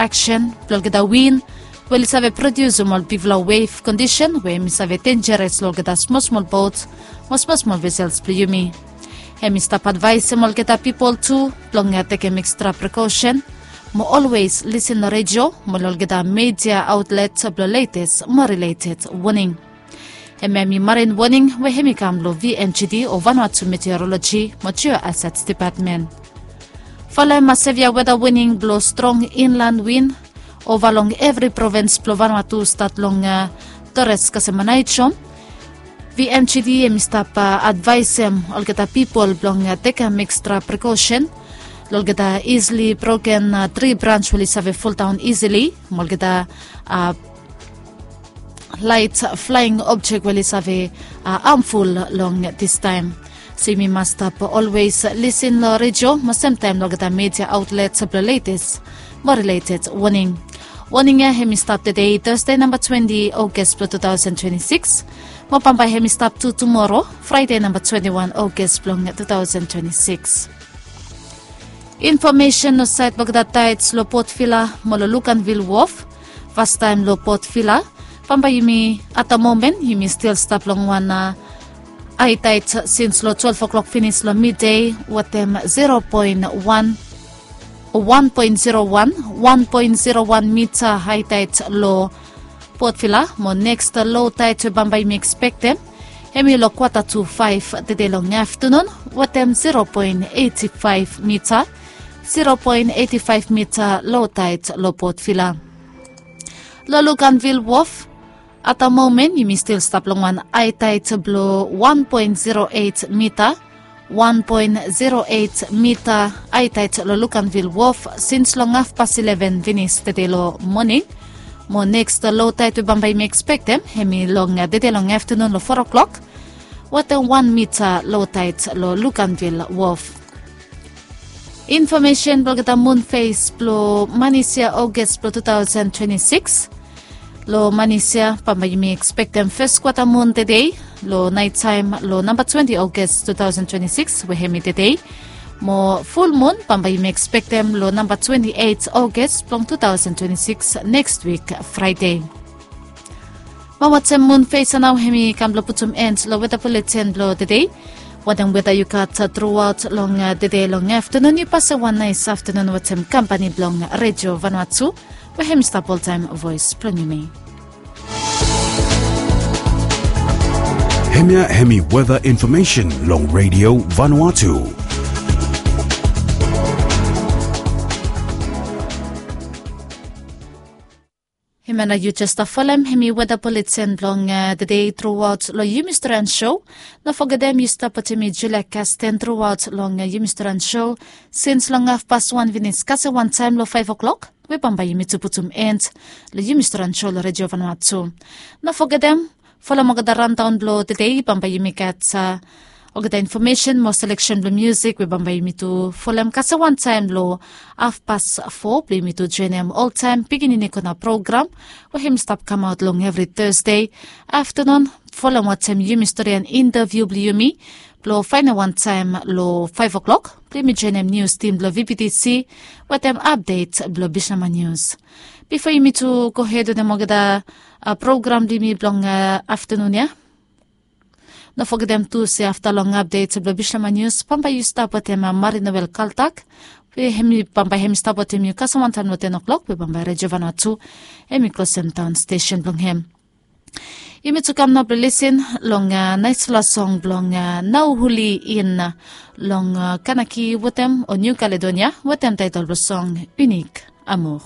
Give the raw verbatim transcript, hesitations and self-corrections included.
Aksen blong olgeta win we oli save prodiusim ol bigfala wef kondisen we hemi save denjeres long olgeta smol smol bot mo smol smol vesels blong yumi. Hemi stap advaesim olgeta pipol tu blong tekem ekstra prekosen mo olwes lisin long redio mo long olgeta media aotlet blong letes mo rileted woning. Hemia hemi marin woning we hemi kam long V N G D o Vanuatu Meteorologi mo Geohazards Depatmen. Folem sevia weda woning blong strong inlan win ova long evri provins blong Vanuatu stat long Torres kasem Aneityum. V N G D hemi stap advaesim olgeta pipol blong tekem ekstra prekosen long olgeta isili broken tri brans we oli save foldaon isili mo olgeta lait flaing objek we oli save hamful long distaem. So yumi mas stap olwes lisin long redio mo semtaem long olgeta media aotlet blong letes mo rileted woning. Woning ya hemi stap tede Tasde namba twenti Ogas blong tu taosen twenti sikis mo bambae hemi stap tu tumoro Fraede namba twenti wan Ogas blong tu taosen twenti sikis. Infomesen long saed blong olgeta taets long Port Vila mo long Luganville Wharf. Fastaem long Port Vila, bambae yumi at the moment yumi stil stap long wan hae taet sins long twelef o'klok finis long midei wetem zero poen wan, wan poen zero wan, wan poen zero wan mita hae taet long Port Vila mo neks lo taet we bambae yumi ekspektem hemi long kwata tu faef tede long aftanun wetem zero poen eiti faef mita, zero poen eiti faef mita lo taet long Port Vila. Long Luganville Wharf, at the moment yumi stil stap long wan hae taet blong wan poen zero eit mita, wan poen zero eit mita hae taet long Luganville Wharf sins long hafpas ileven finis tede long moning. Mo neks lo taet we bambae yumi ekspektem hemi long tede long aftanun long foa o'klok wetem wan mita lo taet long Luganville Wharf. Infomesen blong olgeta mun fes blong manis ya Ogas blong tu taosen twenti sikis. Long manis ya bambae yumi ekspektem fes kwata mun tede long naetaem long namba twenti Ogas tu taosen twenti sikis we hemi tede. Mo ful mun bambae yumi ekspektem long namba twenti eit Ogas blong tu taosen twenti sikis neks wik Fraede. Mo watem mun fes ya nao hemi kam blong putum en long weda buletin blong tede. Wanem weda yu gat truaot long tede long aftanun, yu pasem wan naes aftanun watem kampani blong Redio Vanuatu we hemi stap oltaem voes blong yumi. Hemia hemi weda infomesen long Redio Vanuatu. Hemia nao yu jes stap folem hemi weda buletin blong tede truaot long yumi storian sou. No fogetem yu stap watem mi Julia Kasten truaot long yumi storian sou sins long hafpas wan finis kasem wantaem long faef o'klok we bambae yumi tu putum en long yumi storian sou long Redio Vanuatu. No fogetem folem olgeta randaon blong tede bambae yumi gat olgeta infomesen mo seleksen blong miusik we bambae yumi tu folem kasem wantaem long hafpas fo blong yumi tu joenem oltaem pikinini kona program we hemi stap kamaot long evri Tasde aftanun. Folem watem yumi storian intaviu blong yumi blong faenem wantaem long faef o'klok blong yumi joenem nius tim blong V B T C wetem apdet blong Bislama Nius. Bifo yumi tu gohed wetem olgeta program blong yumi blong aftanun ya, no fogetem tu se afta long apdet blong Bislama Nius bambae yu stap wetem Mari Noel Kaltak we hemi bambae hemi stap wetem yu kasem wantaem long ten o'klok we bambae Redio Vanuatu hemi klosem daon stesen blong hem. Yumi tu kam nao blong lisin long naesfala song blong Nau Huli In long Kanaki wetem o Niu Kaledonia wetem taetol blong song Unik Amur.